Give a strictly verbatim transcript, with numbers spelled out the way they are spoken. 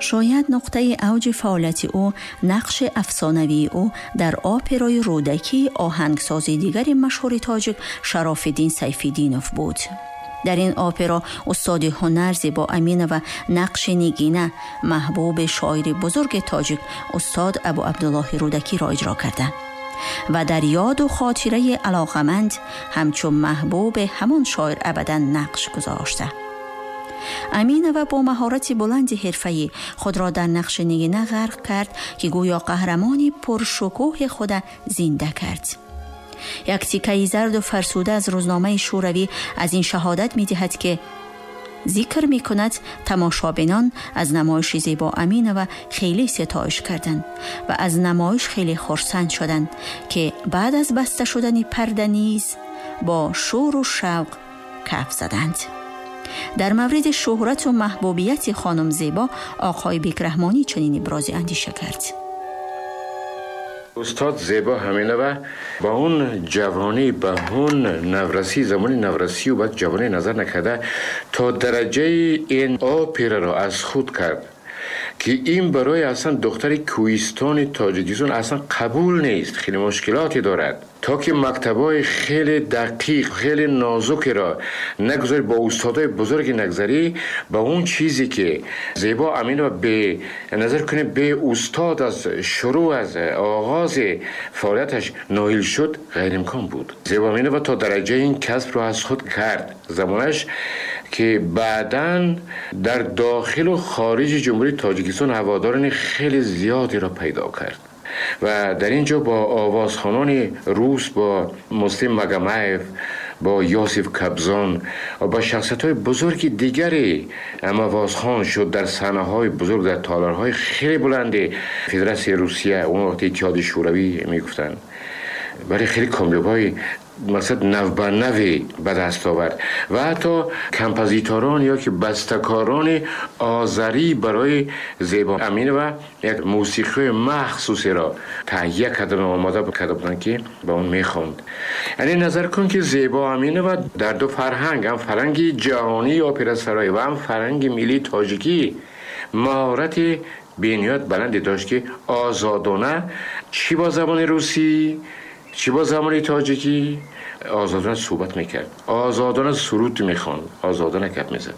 Шояд нуқтаи авҷи фаъолияти ӯ нақши афсонавии ӯ дар операи Рӯдакии оҳангсози дигари машҳури тоҷик Шарофиддин Сайфиддинов буд. Дар ин опера устоди ҳунар Зебо Аминова нақши Нигина, маҳбуби шоири бузурги тоҷик устод Абу Абдуллоҳи Рӯдакиро иҷро карда ва дар ёду хотираи алоқаманд ҳамчун маҳбуби ҳамон шоир абадан нақш гузошта. Аминова бо маҳорати баланди ҳирфаӣ худро дар нақши Нигина ғарқ кард, ки гӯё қаҳрамони пуршукӯҳи худа зинда кард. Як тикаи зарду фарсуда аз рӯзномаи Шӯравӣ аз ин шаҳодат медиҳад, ки зикр мекунад: тамошобинон аз намоиши Зебо Аминова хеле ситоиш карданд ва аз намоиш хеле хурсанд шуданд, ки баъд аз баста шудани парда низ бо шӯру шавқ каф заданд. Дар мавриди шӯҳрату маҳбубияти хонум Зебо оқои Бекраҳмонӣ чунин ибрози андеша кард: Устод Зебо Аминова ба он ҷавонӣ, ба он наврасӣ, замони наврасию баъд ҷавонӣ назар накарда, то дараҷаи ин операро аз худ кард, ки ин барои аслан духтари кӯҳистони Тоҷикистон аслан қабул нест, хеле мушкилоте дорад, то ки мактабҳои хеле дақиқ, хеле нозукеро нагузарӣ, бо устодои бузурге нагзарӣ, ба он чизе ки Зебо Аминова бе назар кунем, бе устод аз шурӯъ, аз оғози фаъолияташ ноил шуд, ғайриимкон буд. Зебо Аминова то дараҷаи ин касбро аз худ кард замонаш, ки баъдан дар дохилу хориҷи Ҷумҳурии Тоҷикистон ҳаводорони хеле зиёдеро пайдо кард ва дар ин ҷо бо овозхонони рус, бо Муслим Магомаев, бо Ёсиф Кобзон ва бо шахсиятҳои бузурги дигаре ҳамовозхон шуд дар саҳнаҳои бузург, дар толорҳои хеле баланди Федератсияи Русия, он вақт Иттиҳоди Шӯравӣ мегуфтанд, вале хеле комёбҳои мақсад навбанави ба даст овард ва ҳатто композиторон ё ки бастакорони озарӣ барои Зебо Аминова як мусиқии махсусеро таҳия кардан, омода карда буданд, ки ба он мехонд. Яъне назар кун, ки Зебо Аминова дар ду фарҳанг, ҳам фарҳанги ҷаҳонии операсароӣ ва ҳам фарҳанги миллии тоҷикӣ, маҳорати бениҳоят баланде дошт, ки озодона чӣ бо забони русӣ, чӣ бо забони тоҷикӣ озодона суҳбат мекард, озодона суруд мехонд, озодона гап мезад.